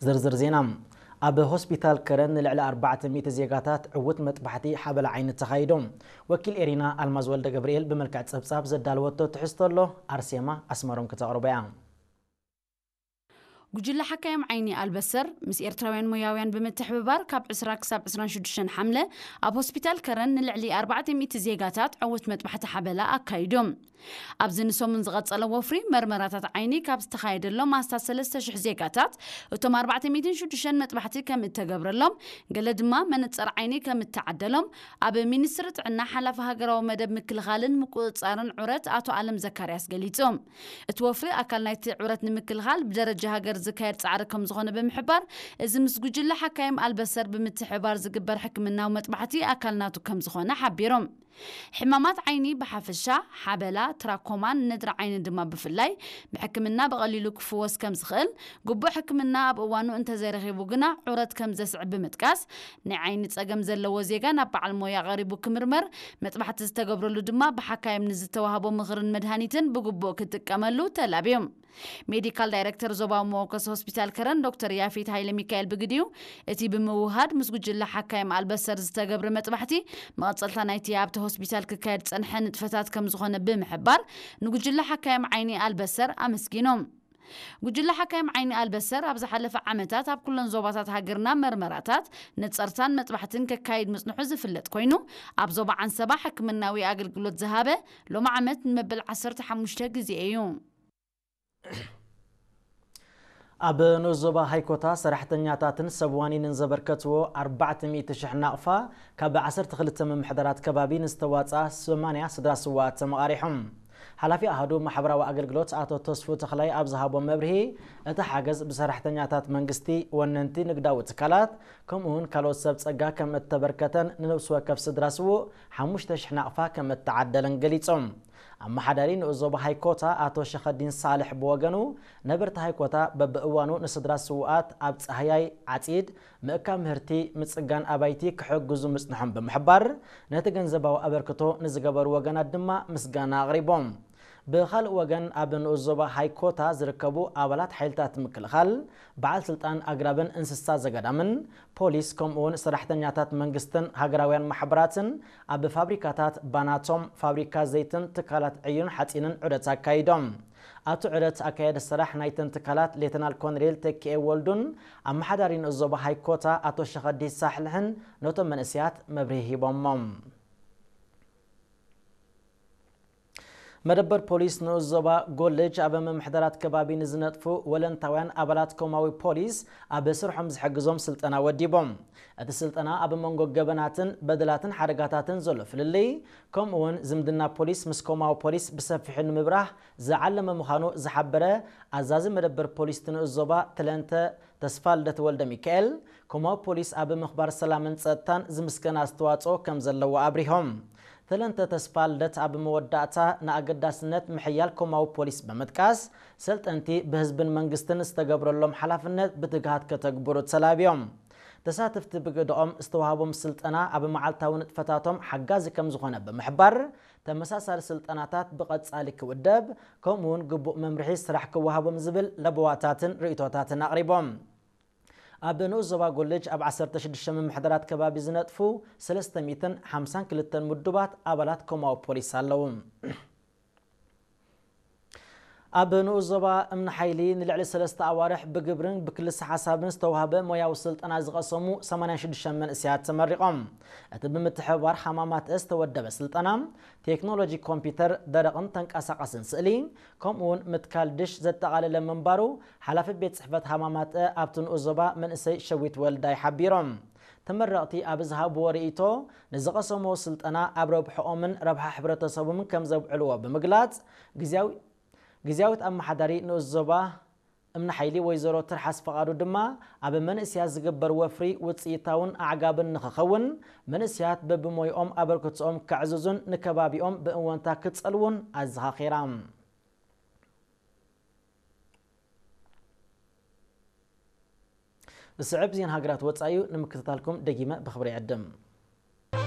ዝርዝር ዜና። ኣብ ሆስፒታል ከረን ንልዕሊ ኣርባዕተ ሚእቲ ዜጋታት ዕዉት መጥባሕቲ ሓበላ ዓይኒ ተኻይዱ። ወኪል ኤሪና ኣልማዝ ወልደ ገብርኤል ብመልክዕ ጸብጻብ ዘዳለወቶ ትሕዝቶ ኣሎ፣ ኣርሴማ ኣስመሮም ክተቕርቦ እያ። ጉጅለ ሓካይም ዓይኒ ኣልበሰር ምስ ኤርትራውያን ሞያውያን ብምትሕብባር ካብ ዕስራ ክሳብ ዕስራን ሽዱሽተን ሓምለ ኣብ ሆስፒታል ከረን ንልዕሊ ኣርባዕተ ሚእቲ ዜጋታት ዕዉት መጥባሕቲ ሓበላ ኣካይዶም። ኣብዚ ንሰሙን ዝቐጸለ ወፍሪ መርመራታት ዓይኒ ካብ ዝተኻየደሎም ኣስታት ሰለስተ ሽሕ ዜጋታት፣ እቶም ኣርባዕተ ሚእትን ሽዱሽተን መጥባሕቲ ከም እተገብረሎም፣ ገለ ድማ መነጸር ዓይኒ ከም እተዓደሎም ኣብ ሚኒስትሪ ጥዕና ሓላፊ ሃገራዊ መደብ ምክልኻልን ምቁጽጻርን ዑረት ኣቶ ኣለም ዘካርያስ ገሊጹ። እቲ ወፍሪ ኣካል ናይቲ ዑረት ንምክልኻል ብደረጃ ሃገር ዝካየድ ጻዕሪ ከም ዝኾነ ብምሕባር፣ እዚ ምስ ጉጅለ ሓካይም ኣልበሰር ብምትሕብባር ዝግበር ሕክምናዊ መጥባሕቲ ኣካል ናቱ ከም ዝኾነ ሓቢሮም። ሕማማት ዓይኒ ብሓፈሻ፣ ሓበላ፣ ትራኮማን ነድሪ ዓይኒ ድማ ብፍላይ፣ ብሕክምና ብቐሊሉ ክፍወስ ከም ዝኽእል፣ ግቡእ ሕክምና ኣብ እዋኑ እንተዘይረኺቡ ግና ዑረት ከም ዘስዕብ ብምጥቃስ፣ ናይ ዓይኒ ጸገም ዘለዎ ዜጋ ናብ በዓል ሞያ ቀሪቡ ክምርመር፣ መጥባሕቲ ዝተገብረሉ ድማ ብሓካይም ንዝተዋህቦ ምኽርን መድሃኒትን ብግቡእ ክጥቀመሉ ተላብዮም። ሜዲካል ዳይሬክተር ዞባዊ መወከሲ ሆስፒታል ከረን ዶክተር ያፌት ሃይለ ሚካኤል ብግዲኡ፣ እቲ ብምውሃድ ምስ ጉጅለ ሓካይም ኣልበሰር ዝተገብረ መጥባሕቲ መቐጸልታ ናይቲ ኣብቲ ሆስፒታል ክካየድ ዝጸንሐ ንጥፈታት ከም ዝኾነ ብምሕባር፣ ንጉጅለ ሓካይም ዓይኒ ኣልበሰር ኣመስጊኖም። ጉጅለ ሓካይም ዓይኒ ኣልበሰር ኣብ ዝሓለፈ ዓመታት ኣብ ኩለን ዞባታት ሃገርና መርመራታት፣ ነጸርታን መጥባሕትን ከካይድ ምጽንሑ ዝፍለጥ ኮይኑ፣ ኣብ ዞባ ዓንሰባ ሕክምናዊ ኣገልግሎት ዝሃበ ሎሚ ዓመት ንመበል ዓሰርተ ሓሙሽተ ግዜ እዩ። ኣብ ንኡስ ዞባ ሃይኮታ ሰራሕተኛታትን ሰብ ዋኒንን ዘበርከትዎ ኣርባዕተ ሚእቲ ሽሕ ናቕፋ ካብ ዓሰርተ ክልተ ምምሕዳራት ከባቢ ንዝተዋፅኣ ሰማንያ ስድራ ስውኣት ተመቓሪሖም። ሓላፊ ኣሃዱ ማሕበራዊ ኣገልግሎት ኣቶ ተስፉ ተኽላይ ኣብ ዝሃቦ መብርሂ፣ እቲ ሓገዝ ብሰራሕተኛታት መንግስቲ፣ ወነንቲ ንግዳዊ ትካላት፣ ከምኡ እውን ካልኦት ሰብ ጸጋ ከም እተበርከተን ንነብሲ ወከፍ ስድራ ስዉእ ሓሙሽተ ሽሕ ናቕፋ ከም እተዓደለን ገሊጾም። ኣመሓዳሪ ንኡስ ዞባ ሃይኮታ ኣቶ ሸኸዲን ሳልሕ ብወገኑ፣ ነበርቲ ሃይኮታ በብእዋኑ ንስድራ ስዉኣት ኣብ ጻህያይ ዓጺድ፣ ምእካብ ምህርቲ፣ ምጽጋን ኣባይቲ ክሕግዙ ምጽንሖም ብምሕባር፣ ነቲ ገንዘባዊ ኣበርክቶ ንዝገበሩ ወገናት ድማ ምስጋና ኣቕሪቦም። ብኻልእ ወገን፣ ኣብ ንኡስ ዞባ ሃይኮታ ዝርከቡ ኣባላት ሓይልታት ምክልኻል፣ በዓል ስልጣን ኣግራብን እንስሳ ዘገዳምን፣ ፖሊስ፣ ከምኡውን ሰራሕተኛታት መንግስትን ሃገራውያን ማሕበራትን ኣብ ፋብሪካታት ባናቶም፣ ፋብሪካ ዘይትን ትካላት ዕዩን ሓጺንን ዑደት ኣካይዶም። ኣብቲ ዑደት ኣካየዲ ስራሕ ናይተን ትካላት ሌተናል ኮሎኔል ተኪኤ ወልዱን ኣመሓዳሪ ንኡስ ዞባ ሃይኮታ ኣቶ ሸኸዲ ሳሕልሕን ነቶም መንእሰያት መብርሂ ሂቦሞም። መደበር ፖሊስ ንኡስ ዞባ ጎልጅ ኣብ ምምሕዳራት ከባቢ ንዝነጥፉ ወለንታውያን ኣባላት ኮማዊ ፖሊስ ኣብ ስርሖም ዝሕግዞም ስልጠና ወዲቦም። እቲ ስልጠና ኣብ መንጎ ገበናትን በደላትን ሓደጋታትን ዘሎ ፍልልይ፣ ከምኡ እውን ዝምድና ፖሊስ ምስ ኮማዊ ፖሊስ ብሰፊሑ ንምብራህ ዝዓለመ ምዃኑ ዝሓበረ ኣዛዚ መደበር ፖሊስ እቲ ንኡስ ዞባ ተለንተ ተስፋልደት ወልደ ሚካኤል፣ ኮማዊ ፖሊስ ኣብ ምኽባር ሰላምን ጸጥታን ዝምስገን ኣስተዋጽኦ ከም ዘለዎ ኣብሪሆም። ተለንተ ተስፋልደት ኣብ መወዳእታ ንኣገዳስነት ምሕያል ኮማዊ ፖሊስ ብምጥቃስ፣ ሰልጠንቲ ብህዝብን መንግስትን ዝተገብረሎም ሓላፍነት ብትግሃት ከተግብሩ ተላብዮም። ተሳተፍቲ ብግደኦም ዝተዋህቦም ስልጠና ኣብ መዓልታዊ ንጥፈታቶም ሓጋዚ ከም ዝኾነ ብምሕባር፣ ተመሳሳሊ ስልጠናታት ብቐጻሊ ክውደብ፣ ከምኡ እውን ግቡእ መምርሒ ስራሕ ክወሃቦም ዝብል ለበዋታትን ርእይቶታትን ኣቕሪቦም። ኣብ ንኡስ ዞባ ጎልጅ ኣብ ዓሰርተ ሽዱሽተ ምምሕዳራት ከባቢ ዝነጥፉ ሰለስተ ሚእትን ሓምሳን ክልተን ምዱባት ኣባላት ኮማዊ ፖሊስ ኣለዉ። ኣብ ንኡስ ዞባ እምኒ ሓይሊ ንልዕሊ ሰለስተ ኣዋርሕ ብግብርን ብክልሰ ሓሳብን ዝተዋህበ ሞያዊ ስልጠና ዝቐሰሙ ሰማንያን ሽዱሽተን መንእሰያት ተመሪቖም። እቲ ብምትሕብባር ሃማማት ዝተወደበ ስልጠና፣ ቴክኖሎጂ ኮምፒውተር፣ ደረቕን ተንቀሳቓስን ስእሊ፣ ከምኡውን ምትካል ድሽ ዘጠቓለለ ምንባሩ፣ ሓላፊ ቤት ጽሕፈት ሃማማት ኣብቲ ንኡስ ዞባ መንእሰይ ሸዊት ወልዳይ ሓቢሮም። ተመረቕቲ ኣብ ዝሃብዎ ርእይቶ፣ ንዝቐሰምዎ ስልጠና ኣብ ረብሕኦምን ረብሓ ሕብረተሰቦምን ከም ዘውዕልዎ ብምግላጽ፣ ግዝያዊ-፣ ግዝያዊት ኣመሓዳሪ ንኡስ ዞባ እምኒ ሓይሊ ወይዘሮ ትርሓስ ፈቓዱ ድማ፣ ኣብ መንእስያት ዝግበር ወፍሪ ውጽኢታውን ኣዕጋብን ንኽኸውን፣ መንእስያት በብሞይኦም ኣበርክቶኦም ከዕዝዙን ንከባቢኦም ብእወንታ ክጸልዉን ኣዘኻኺራ። ዝስዕብ ዜና ሃገራት ወጻኢ እዩ፣ ንምክትታልኩም ደጊመ ብኽብሪ ይዕድም።